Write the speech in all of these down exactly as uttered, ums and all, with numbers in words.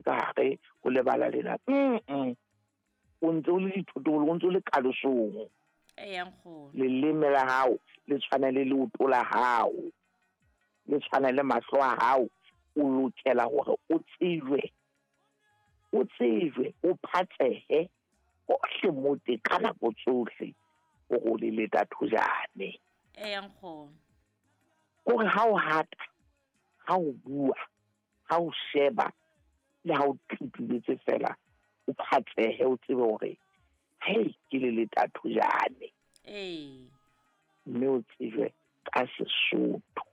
ka hare ho lebala lena. Mm o ntse o le dithotobolo, o ntse o le kalosong. Eya nkgono. Leleme la hao le tshwana le leoto la hao, le tshwana le mahlo a hao. O lokela hore o tsejwe, o tsejwe, o phatsehe hohle mo teng ka nako tsohle hore o le leta thojane. Eya nkgono. Kore ha o hata, ha o bua, ha o sheba le ha o tlipiletse fela, o phatsehe, o tsebe hore hei ke le leta thojane. Ee. Mme o tsejwe ka Sesotho.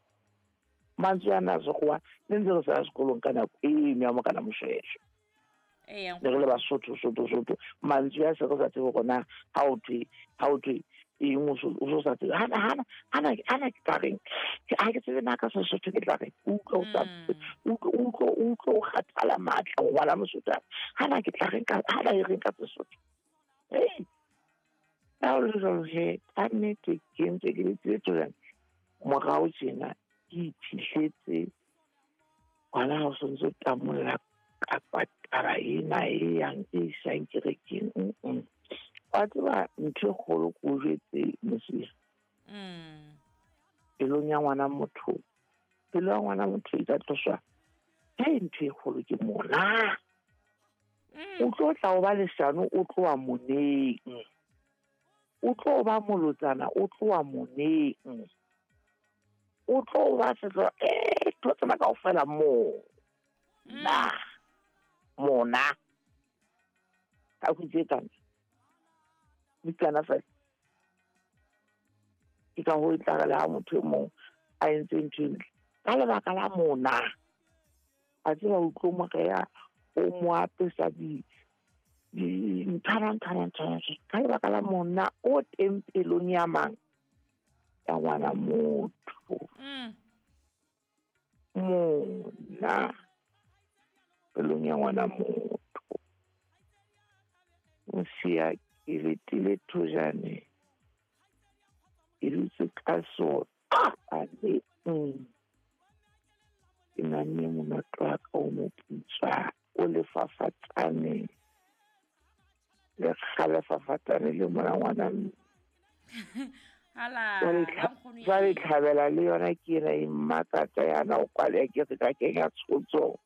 Mantswe ana a Sekgowa ne ntse re sa ya sekolong ka nako eno ya Morena Moshweshwe. Eya Ne re le Basotho, Sotho, Sotho. Mantswe a se re sa tsebe hore na ha o thwe, ha o thwe eng, o so, o so sa tsebe. Hana, hana, hana, hana ke tla reng? Ha ke tsebe na ka Sesotho ke tla reng? Utlwa o sa Mm. utlwa, utlwa, utlwa o kgathala matla ho ngwala Mosotho. Hana ke tla reng ka, hana e reng ka Sesotho? Hei, ha o le jwalo he, ka nnete ke ntse ke le tsebe jwang. Morao tjena ke iphihletse hona ha o sontso tamolla kapa taba ena e yang e isang kerekeng. Mm-mm. Wa tseba ntho e kgolo ke o jwetse Mosia. Mm. Pelong ya ngwana motho, pelo ya ngwana motho e ka tloswa. Hei, ntho e kgolo ke mona. Mm. O tlo tla o ba leshano, o tloha moneng. O tlo ba molotsana, o tloha moneng. O tlo ba setlo, eh, ntho tsena kaofela moo. Mm. Na, mona. Ka ho itse kana. Di kana fela. Ke ka ho e tla re le ha motho e mong a entse ntho e ntle. Ka lebaka la mona. A tseba o tlo mo reha, o mo apesa di, di nthana, nthana, nthana. Ka lebaka la mona o teng pelong ya mang? Ya ngwana motho. Mm. Mona pelong ya ngwana motho. Mosia ke letile thojane. Ke dutse ka sona. A le mm. Ke namme monoto wa ka o moputswa, o lefafatsane. Le kgalefafatsane le mona ngwana mme. Hala, Jwale la tlha- nkgono jwale e. tlhabela le yona ke ena e mmakatsa yana, o kwale ke re ka kenya tshotso.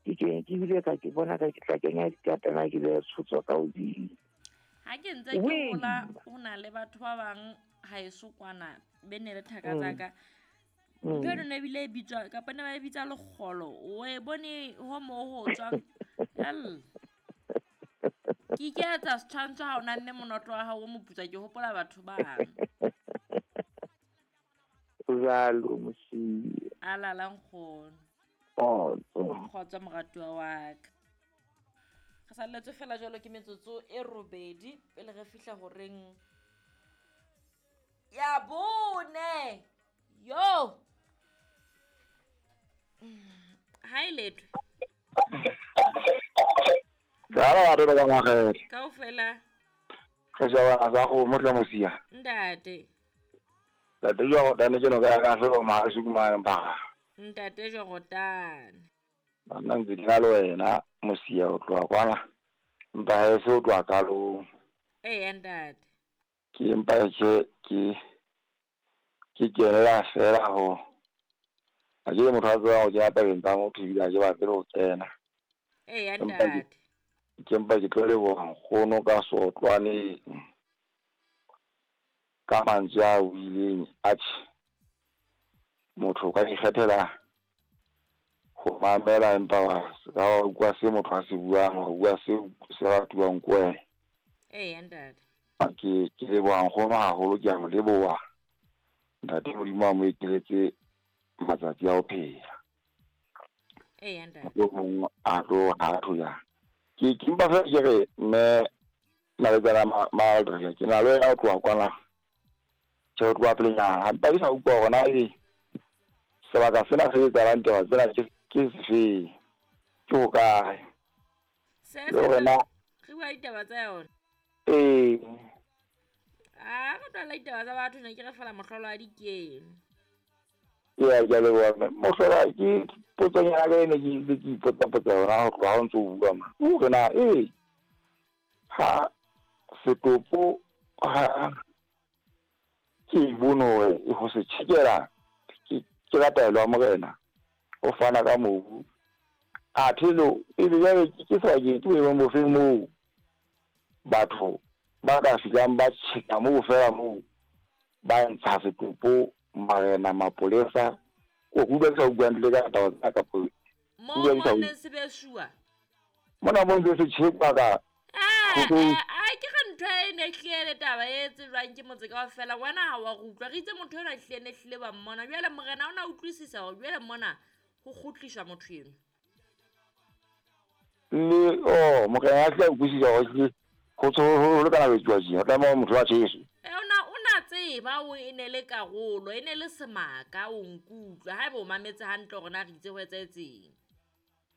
Ke kenya, ke bile ka ke bona ka ke tla kenya dikatana, ke behe tshotso ka hodimo. Ha ke ntse ke Wee. hola, ho na le batho ba bang haeso kwana, be ne le thaka tsa Mm. ka. Mm. Ntho eno ne ebile e bitswa, kapa ne ba e bitsa lekgolo. O e bone ho moo ho tswang. Hell. Ke iketsa setshwantsho ha o namme monoto wa hao o moputswa, ke hopola batho bang. Jwalo, Mosia. A lala nkgono. Kgotso. Kgotso moratuwa wa ka. Re salletswe fela jwalo ke metsotso e robedi pele re fihla horeng ya bone. Yo. Ha e letho. Jala wa rona ka ngwagele. Kaofela. Re shebana sa go motla Mosia. Ntate. Ntate jwa go tane ke no ka ka se ma su ma mpa. Ntate jwa go tane. Nna ntse ke na le wena Mosia o tloha kwana. Mpa ha e se o tloha kalong. Eya ntate. Ke mpa ke ke ke kenela fela ho. Ha ke motho a tsebang ho kena tabeng tsa motho ebile ha ke batle ho kena. Eya Empa ke ntate. Ke mpa ke tlo leboha nkgono ka sotlwaneng. Ka mantswe a buileng, atjhe, motho o ka ikgethela ho mamela empa wa se ka wa utlwa se motho a se buang, wa bua se se ratuwang ke wena. Eya ntate. Ke, ke leboha nkgono haholo, ke a mo leboha. Ntate Modimo a mo ekeletse matsatsi a ho phela. Eya ntate. Mohlomong a tlo ha thoya. Ke, ke mpa fela ke re mme Naletsana ma-, Maldre, ke na le wena ho tloha kwana. Tjhe, ho tloha pelenyana. Ha mpa ke sa utlwa hore na ebe sebaka sena se etsahalang taba tsena ke, ke sefeng, ke hokae. Se Le hore na re bua ditaba tsa yona? Ee. Ah, re tlohella ditaba tsa batho, ne ke re fela mohlolo wa dikeno. Ya ke a leboha mme. Mohlola ke potsonyana ka ene ke ntse ke ipotsa-potsa yona ho tloha ha o ntso o bua ma. Hore na ee ha setopo ha ke bone hore ho se tjhekela ke ke ka taelo ya morena o fana ka mobu. Athe lo ebe jwale ke sebakeng ke boemong bofeng moo batho ba ka fihlang ba tjheka moo fela moo ba ntsha setopo marena mapolesa o utlwa ke sa utlwa hantle ka taba tsena kapa Moo mo neng se beshuwa. Mona mo ntse se tjhekwa ka Eh, eh, ke re ntho e ne hlile le taba e tsejwang ke motse kaofela. Wena ha wa re utlwa. Re itse motho enwa hlile ne hlile ba mmona. Jwale morena o na utlwisisa hore jwale mona ho kgutliswa motho enwa. Le oh morena a tla utlwisisa hore hlile ho ho ho kana ho etsuwa tjena. O tlameha motho a tjheswe. E ona o na tseba o e ne le karolo, e ne le semaka o nkutlwa. Haeba o mametse hantle hore na re itse ho etsahetseng.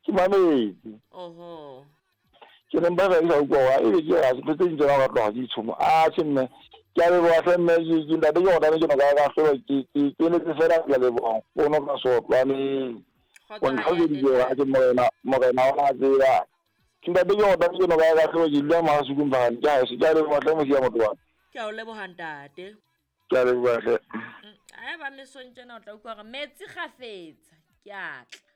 Ke mametse. Oho. Ke ne mpa fela ke sa utlwa hore ebe ke ya ntho tse ding tsona o ka tloha ke ditshomo. Atjhe mme ke a leboha hle mme ke ke ntate ke hore ke no ka ka hlolwa ke ke ke emetse fela ke a leboha nkgono ka sotlwaneng. Kgotso O ha ya ntlhaloseditse hore atjhe morena morena o na tseba. Ntate ke hore ke no ka ka hlolwa ke dula Mahasukung Phakane ke haeso. Ke a leboha hle Mosia motho wa ka. Ke a o leboha ntate. Ke a leboha hle. Haeba mesong tjena o tla utlwa hore metsi kgafetsa ke a tla.